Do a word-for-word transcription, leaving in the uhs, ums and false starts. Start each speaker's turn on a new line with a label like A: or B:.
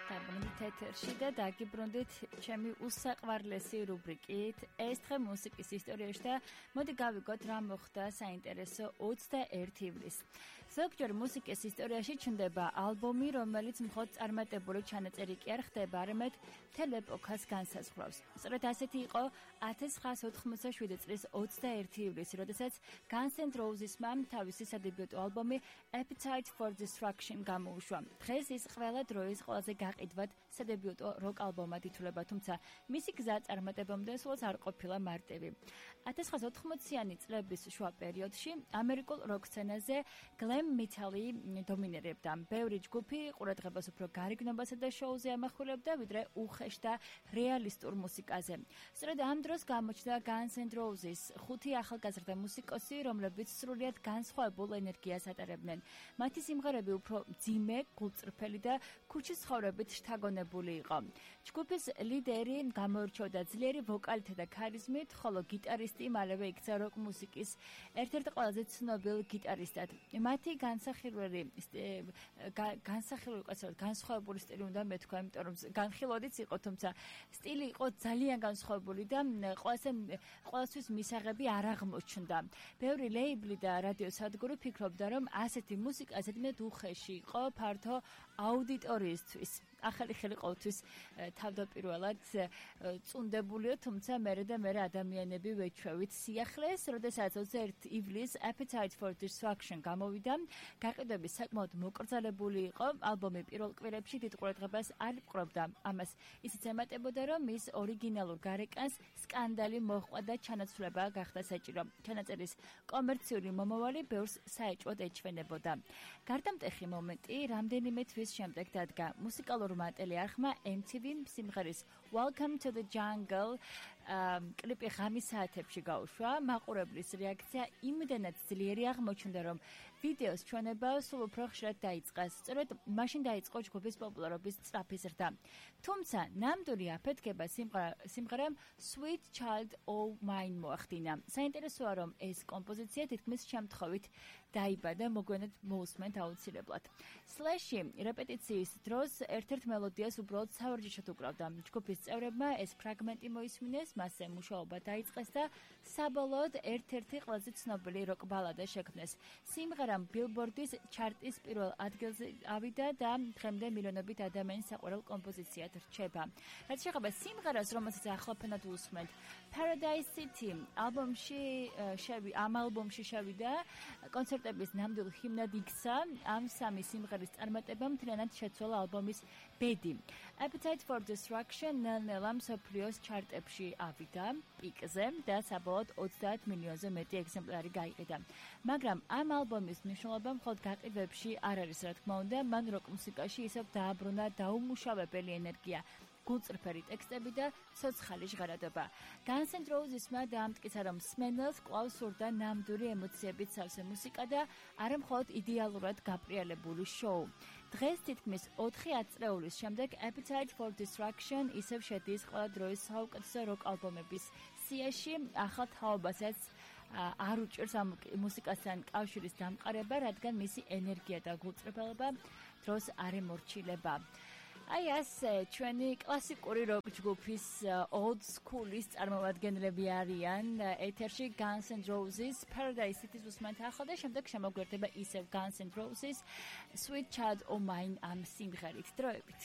A: დაბრუნდით ეთერში და დაგიბრუნდით ჩემი უსაყვარლესი რუბრიკით ეს დღე მუსიკის ისტორიაში და მოდი გავიგოთ რა მოხდა საინტერესო ოცდაერთი ივლისს. ზოგჯერ მუსიკის ისტორიაში ჩნდება ალბომი, რომელიც მხოლოდ წარმატებული ჩანაწერი კი არ ხდება, არამედ მთელ ეპოქას განსაზღვრავს. სწორედ ასეთი იყო ათას ცხრაასი ოთხმოცდაშვიდი წლის ოცდაერთი ივლისი, როდესაც Guns N' Roses-მა თავისი სადებიუტო ალბომი Appetite for Destruction გამოუშვა. დღეს ის ყველა დროის ყველაზე გაყიდვად სადებიუტო როკ ალბომად ითვლება, თუმცა მისი გზა წარმატებამდე სულაც არ ყოფილა მარტივი. ათას ცხრაასი ოთხმოციანი წლების შუა პერიოდში ამერიკულ როკ სცენაზე glam metal-ი დომინირებდა. ბევრი ჯგუფი ყურადღებას უფრო გარიგნობასა და შოუზე ამახვილებდა, ვიდრე უხეშ და რეალისტურ მუსიკაზე. სწორედ ამ დროს გამოჩნდა Guns N' Roses, ხუთი ახალგაზრდა მუსიკოსი, რომლებიც სრულიად განსხვავებულ ენერგიას ატარებდნენ. მათი სიმღერები უფრო მძიმე, გულწრფელი და ქუჩის ცხოვრებით შთაგონებული იყო. ჯგუფის ლიდერი გამოირჩეოდა ძლიერი ვოკალითა და ქარიზმით, ხოლო გიტარისტი მალევე იქცა როკ მუსიკის ერთ-ერთ ყველაზე ცნობილ გიტარისტად. მათი განსახილველი განსახილველი ყაცად განსხვავებული სტილი უნდა მეთქვა, იმიტომ რომ განხილვადიც იყო, თუმცა სტილი იყო ძალიან განსხვავებული და ყველასთვის მისაღები არ აღმოჩნდა. ბევრი ლეიბლი და რადიო სადგური ფიქრობდა, რომ ასეთი მუსიკა ზედმეტ უხეში იყო ფართო აუდიტორიისთვის. ახალი ხელი ყოველთვის თავდაპირველად წუნდებულია, თუმცა მერე და მერე ადამიანები ვეჩვევით სიახლეს, როდესაც ოცდაერთი ივლისს Appetite for Destruction გამოვიდა, გაყიდვები საკმაოდ მოკრძალებული იყო, ალბომი პირველ კვირებში დიდ ყურადღებას არ იპყრობდა. ამას ისიც ემატებოდა, რომ მის ორიგინალურ გარეკანს სკანდალი მოჰყვა და ჩანაცვლება გახდა საჭირო. ჩანაწერის კომერციული მომავალი ბევრს საეჭვოდ ეჩვენებოდა. გარდამტეხი მომენტი რამდენიმე თვის შემდეგ დადგა. მუსიკალურ მატელი არხმა M T V სიმღერის Welcome to the Jungle კლიპი ღამის საათებში გაუშვა. მაყურებლის რეაქცია იმდენად ძლიერი აღმოჩნდა, რომ ვიდეოს ჩვენება სულ უფრო ხშირად დაიწყეს. სწორედ მაშინ დაიწყო ჯგუფის პოპულარობის სწრაფი ზრდა. თუმცა ნამდვილი აფეთქება სიმღერამ Sweet Child O' Mine მოახდინა. საინტერესოა, რომ ეს კომპოზიცია თითქმის შემთხვევით დაიბადა, მოგვიანებით მოусმენთ აუცილებლად. Slash-ი რეპეტიციის დროს ერთ-ერთ მელოდიას უბრალოდ სავარჯიშოდ უკრავდა. ჯგუფის წევრებმა ეს ფრაგმენტი მოისმინეს, მასზე მუშაობა დაიწყეს და საბოლოოდ ერთ-ერთი ყველაზე ცნობილი როკ ბალადა შექმნეს. სიმღერამ ბილბორდის ჩარტის პირველ ადგილზე ავიდა და დღემდე მილიონობით ადამიანის საყვარელ კომპოზიციად რჩება. რაც შეეხება სიმღერას, რომელსაც ახლაფენად უსმენთ, Paradise City ალბომში შევი ამ ალბომში შევიდა, კონცერტების ნამდვილ ჰიმნად იქცა. ამ სამი სიმღერის წარმატება მთლიანად შეცვალა ალბომის ბედი. Appetite for Destruction ნელ-ნელა მსოფლიოს ჩარტებში ავიდა პიკზე და საბოლოოდ ოცდაათ მილიონზე მეტი ეგზემპლარი გაიყიდა. მაგრამ ამ ალბომის მნიშვნელობა მხოლოდ გაყიდვებში არ არის, რა თქმა უნდა, მან როკ მუსიკაში ისევ დააბრუნა დაუმუშავებელი ენერგია, გულწრფელი ტექსტები და ცოცხალი ჟღერადობა. Guns N' Roses-მა დაამტკიცა, რომ მსმენელს კვლავ სურდა ნამდვილი ემოციებით სავსე მუსიკა და არა მხოლოდ იდეალურად გაპრიალებული შოუ. დღეს თითქმის ოთხი ათწლეულის შემდეგ Appetite for Destruction ისევ შედის ყველა დროის საუკეთესო როკ ალბომების სიაში, ახალ თაობასაც არ უჭერს ამ მუსიკასთან კავშირის დამყარება, რადგან მისი ენერგია და გულწრფელობა დროს არ ემორჩილება. აი ასე ჩვენი კლასიკური როკ ჯგუფის old school-ის წარმომადგენლები არიან ეთერში Guns N' Roses, Paradise City-ს უსმენთ ახლა და შემდეგ შემოგვერდება ისევ Guns N' Roses, Sweet Child O' Mine ამ სიმღერით. დროებით.